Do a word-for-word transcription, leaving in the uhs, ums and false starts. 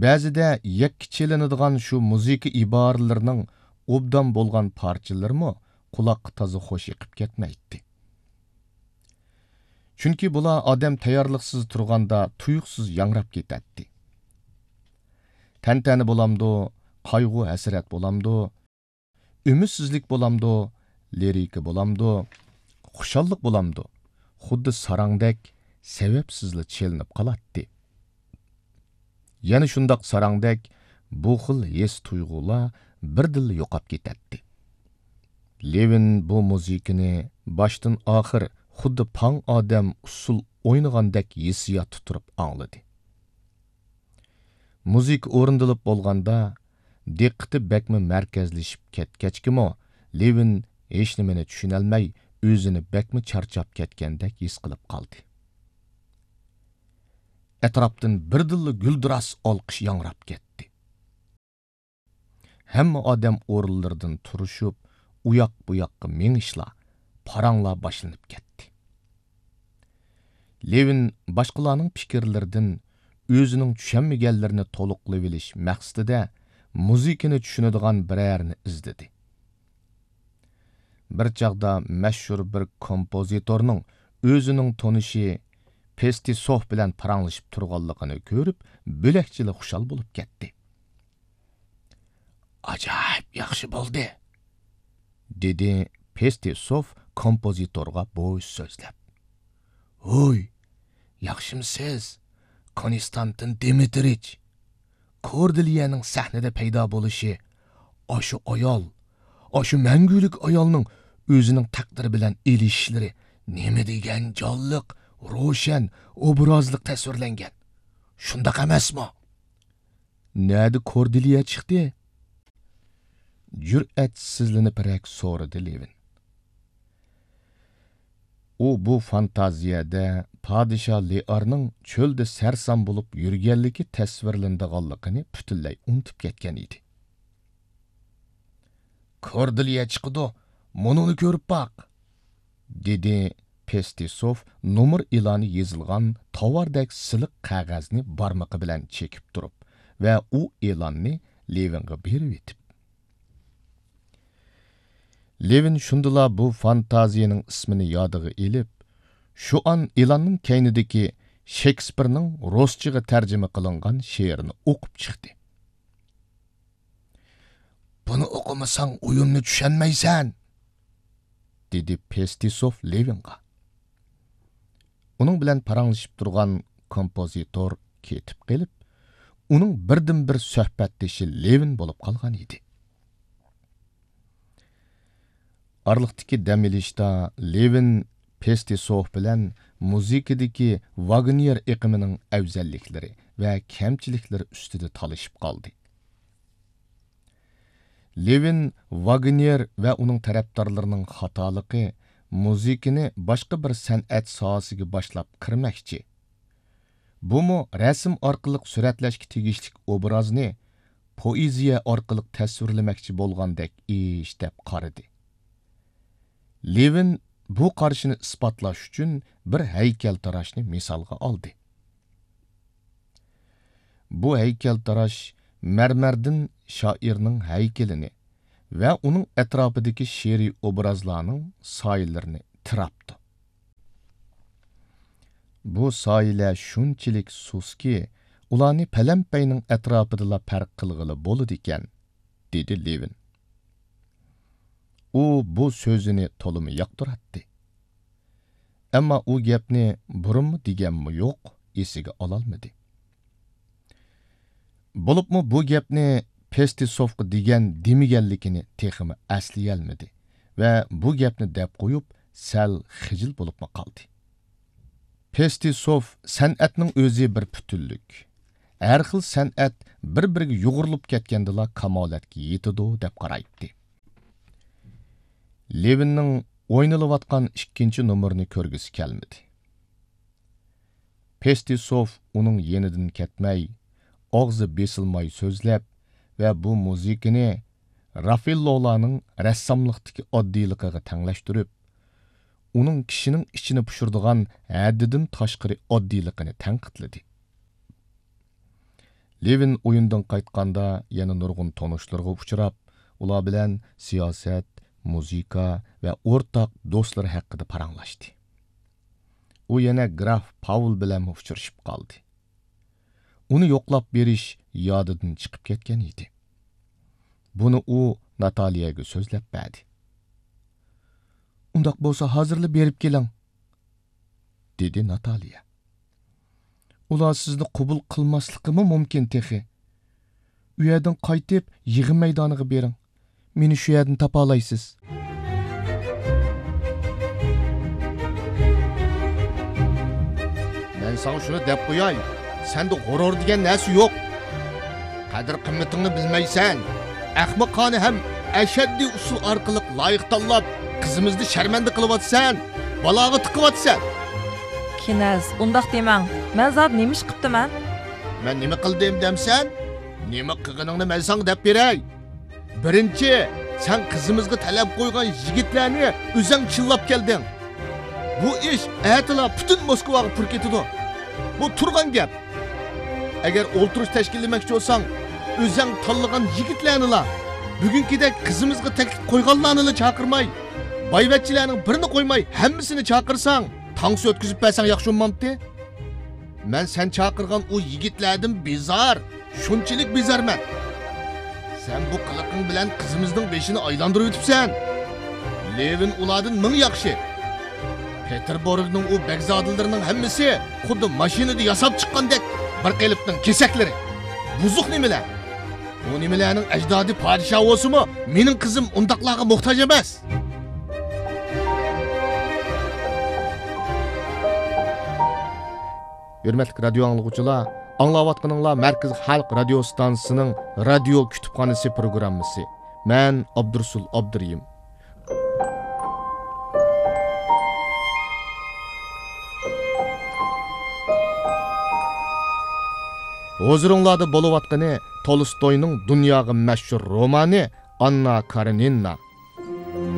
بەزىدە يەككە چېلىنىدىغان شۇ مۇزىكا ئىبارىلىرىنىڭ ئوبدان بولغان پارچىلىرىمۇ قۇلاققا تازا خوش ئېقىپ كەتمەيتتى. چۈنكى بۇلار ئادەم تەييارلىقسىز تۇرغاندا تۇيۇقسىز ياڭراپ كېتەتتى. تەنتەنە بولامدۇ، قايغۇ-ھەسرەت بولامدۇ، ئۈمىدسىزلىك بولامدۇ، لىرىكا بولامدۇ، خۇشاللىق بولامدۇ، خۇددى ساراڭدەك سەۋەبسىزلا چېلىنىپ قالاتتى. يەنە شۇنداق ساراڭدەك بۇ خىل ھېس-تۇيغۇلار بىردىنلا يوقاپ كېتەتتى. لېۋىن بۇ مۇزىكىنى باشتىن-ئاخىر خۇددى پاڭ ئادەم ئۇسسۇل ئوينىغاندەك ھېسسىياتتا تۇرۇپ ئاڭلىدى. مۇزىكا ئورۇندىلىپ بولغاندا، دىققىتى بەكمۇ مەركەزلىشىپ كەتكەچكىمۇ، لېۋىن ھېچنېمىنى چۈشىنەلمەي، ئۆزىنى بەكمۇ چارچاپ كەتكەندەك ھېس قىلىپ قالدى. ئەتراپتىن بىردىنلا گۈلدۈراس ئالقىش ياڭراپ كەتتى. ھەممە ئادەم ئورۇنلىرىدىن تۇرۇشۇپ، ئۇياق-بۇياققا مېڭىشلار، پاراڭلار باشلىنىپ كەتتى. لېۋىن باشقىلارنىڭ پىكىرلىرىدىن ئۆزىنىڭ چۈشەنمىگەنلىرىنى تولۇقلىۋېلىش مەقسىتىدە مۇزىكىنى چۈشىنىدىغان بىرەرىنى ئىزدىدى. بىر چاغدا مەشھۇر بىر كومپوزىتورنىڭ ئۆزىنىڭ تونۇشى پېستىسوف بىلەن پاراڭلىشىپ تۇرغانلىقىنى كۆرۈپ، بۆلەكچىلا خۇشال بولۇپ كەتتى. «ئاجايىپ ياخشى بولدى!» دېدى پېستىسوف كومپوزىتورغا بوش سۆزلەپ. «ھوي، ياخشىمسىز، كونستانتىن دىمىترىچ؟ كوردېلىيەنىڭ سەھنىدە پەيدا بولۇشى، ئاشۇ ئايال، ئاشۇ مەڭگۈلۈك ئايالنىڭ ئۆزىنىڭ تەقدىرى بىلەن ئېلىشىشلىرى نېمە دېگەن جانلىق، روشەن، ئوبرازلىق تەسۋىرلەنگەن. شۇنداق ئەمەسمۇ؟» «نەدە كوردېلىيە چىقتى؟» جۈرئەتسىزلىنىپرەك سورىدى لېۋىن. ئۇ بۇ فانتازىيەدە پادىشاھ لېئارنىڭ چۆلدە سەرسان بولۇپ يۈرگەنلىكى تەسۋىرلىنىدىغانلىقىنى پۈتۈنلەي ئۇنتۇپ كەتكەن ئىدى. «كوردېلىيە چىقىدۇ، مۇنۇنى كۆرۈپ باق!» دېدى پېستىسوف نومۇر ئېلانى يېزىلغان تاۋاردەك سىلىق قەغەزنى بارمىقى بىلەن چېكىپ تۇرۇپ ۋە ئۇ ئېلاننى لېۋىنغا بېرىۋېتىپ. لېۋىن شۇندىلا بۇ فانتازىيەنىڭ ئىسمىنى يادىغا ئېلىپ، شۇئان ئېلاننىڭ كەينىدىكى شېكسپىرنىڭ رۇسچىغا تەرجىمە قىلىنغان شېئىرىنى ئوقۇپ چىقتى. «بۇنى ئوقۇمىساڭ ئويۇننى چۈشەنمەيسەن!» دېدى پېستىسوف لېۋىنغا. ئۇنىڭ بىلەن پاراڭلىشىپ تۇرغان كومپوزىتور كېتىپ قېلىپ، ئۇنىڭ بىردىنبىر سۆھبەتدىشى لېۋىن بولۇپ قالغان ئىدى. ئارىلىقتىكى دەم ئېلىشتا لېۋىن پېستىسوف بىلەن مۇزىكىدىكى ۋاگنېر ئېقىمىنىڭ ئەۋزەللىكلىرى ۋە كەمچىلىكلىرى ئۈستىدە تالىشىپ قالدى. لېۋىن ۋاگنېر ۋە ئۇنىڭ تەرەپدارلىرىنىڭ خاتالىقى مۇزىكىنى باشقا بىر سەنئەت ساھەسىگە باشلاپ كىرمەكچى، بۇمۇ رەسىم ئارقىلىق سۈرەتلەشكە تېگىشلىك ئوبرازنى پوئېزىيە ئارقىلىق تەسۋىرلىمەكچى بولغاندەك ئىش دەپ قارىدى. لېۋىن بۇ قارىشىنى ئىسپاتلاش ئۈچۈن بىر ھەيكەلتىراشنى مىسالغا ئالدى. بۇ ھەيكەلتىراش مەرمەردىن شائىرنىڭ ھەيكىلىنى ۋە ئۇنىڭ ئەتراپىدىكى شېئىرىي ئوبرازلارنىڭ سايىلىرىنى تىراپتۇ. بۇ سايىلەر شۇنچىلىك سۇسكى، ئۇلارنى پەلەمپەينىڭ ئەتراپىدىلا پەرق قىلغىلى بولىدىكەن، دېدى لېۋىن. ئۇ بۇ سۆزىنى تولىمۇ ياقتۇراتتى. ئەمما ئۇ گەپنى بۇرۇنمۇ دېگەنمۇ يوق، ئېسىگە ئالالمىدى. بولۇپمۇ بۇ گەپنى پېستىسوفقا دېگەن دېمىگەنلىكىنى تېخىمۇ ئەسلىيەلمىدى ۋە بۇ گەپنى دەپ قويۇپ، سەل خىجىل بولۇپمۇ قالدى. پېستىسوف سەنئەتنىڭ ئۆزى بىر پۈتۈنلۈك. ھەر خىل سەنئەت بىر-بىرىگە يۇغۇرۇلۇپ كەتكەندىلا كامالەتكە يېتىدۇ، دەپ قارايتتى. لېۋىننىڭ ئوينىلىۋاتقان ئىككىنچى نومۇرنى كۆرگۈسى كەلمىدى. پېستىسوف ئۇنىڭ يېنىدىن كەتمەي، ئاغزى بېسىلماي سۆزلەپ ۋە بۇ مۇزىكىنى رافېللولارنىڭ رەسساملىقتىكى ئاددىيلىقىغا تەڭلەشتۈرۈپ، ئۇنىڭ كىشىنىڭ ئىچىنى پۇشۇرىدىغان ھەددىدىن تاشقىرى ئاددىيلىقىنى تەنقىدلىدى. لېۋىن ئويۇندىن قايتقاندا يەنە نۇرغۇن تونۇشلىرىغا ئۇچراپ، ئۇلار بىلەن سىياسەت، مۇزىكا ۋە ئورتاق دوستلىرى ھەققىدە پاراڭلاشتى. ئۇ يەنە گراف پاۋل بىلەنمۇ ئۇچرىشىپ قالدى. ئۇنى يوقلاپ بېرىش يادىدىن چىقىپ كەتكەن ئىدى. بۇنى ئۇ ناتالىيەگە سۆزلەپ بەردى. «ئۇنداق بولسا، ھازىرلا بېرىپ كېلىڭ»، دېدى ناتالىيە. «ئۇلار سىزنى قوبۇل قىلماسلىقىمۇ مۇمكىن تېخى. ئۇ يەردىن قايتىپ، يىغىن مەيدانىغا بېرىڭ. مېنى شۇ يەردىن تاپالايسىز.» مەن ساڭا شۇنى دەپ قوياي، سەندە غۇرۇر دېگەن نەرسە يوق. قەدىر-قىممىتىڭنى بىلمەيسەن. ئەخمىقانە ھەم ئەشەددىي ئۇسۇل ئارقىلىق لايىق تاللاپ، قىزىمىزنى شەرمەندە قىلىۋاتىسەن، بالاغا تىقىۋاتىسەن. كىنەز، ئۇنداق دېمەڭ. مەن زادى نېمە ئىش قىپتىمەن؟ مەن نېمە قىلدىم دەمسەن؟ نېمە قىلغىنىڭنى مەن ساڭا دەپ بېرەي. بىرىنچى، سەن قىزىمىزغا تەلەپ قويغان يىگىتلەرنى ئۆزەڭ چىللاپ كەلدىڭ. بۇ ئىش ئەتىلا پۈتۈن موسكۋاغا پۇر كېتىدۇ. بۇ تۇرغان گەپ. ئەگەر ئولتۇرۇش تەشكىللىمەكچى بولساڭ، ئۆزەڭ تاللىغان يىگىتلەرنىلا، بۈگۈنكىدەك قىزىمىزغا تەكلىپ قويغانلارنىلا چاقىرماي، بايۋەچچىلەرنىڭ بىرىنى قويماي، ھەممىسىنى چاقىرساڭ، تانسا ئۆتكۈزۈپ بەرسەڭ ياخشى بولمامتى؟ مەن سەن چاقىرغان ئۇ يىگىتلەردىن بىزار، شۇنچىلىك بىزارمەن. سەن بۇ قىلىقىڭ بىلەن قىزىمىزنىڭ بېشىنى ئايلاندۇرۇۋېتىپسەن. لېۋىن ئۇلاردىن مىڭ ياخشى. پېتېربۇرگنىڭ ئۇ بەگزادىلىرىنىڭ ھەممىسى خۇددى ماشىنىدا ياساپ چىققاندەك بىر قېلىپنىڭ كېسەكلىرى. بۇزۇق نېمىلەر. ئۇ نېمىلەرنىڭ ئەجدادى پادىشاھ بولسىمۇ، مېنىڭ قىزىم ئۇنداقلارغا موھتاج ئەمەس. ھۆرمەتلىك رادىيو ئاڭلىغۇچىلار، ئاڭلاۋاتقىنىڭلار مەركىزىي خەلق رادىيو ئىستانسىسىنىڭ رادىيو كۇتۇپخانىسى پروگراممىسى. مەن ئابدۇرۇسۇل ئابدۇرېھىم. ھۇزۇرۇڭلاردا بولۇۋاتقىنى تولستوينىڭ دۇنياغا مەشھۇر رومانى ئاننا كارېنىنا.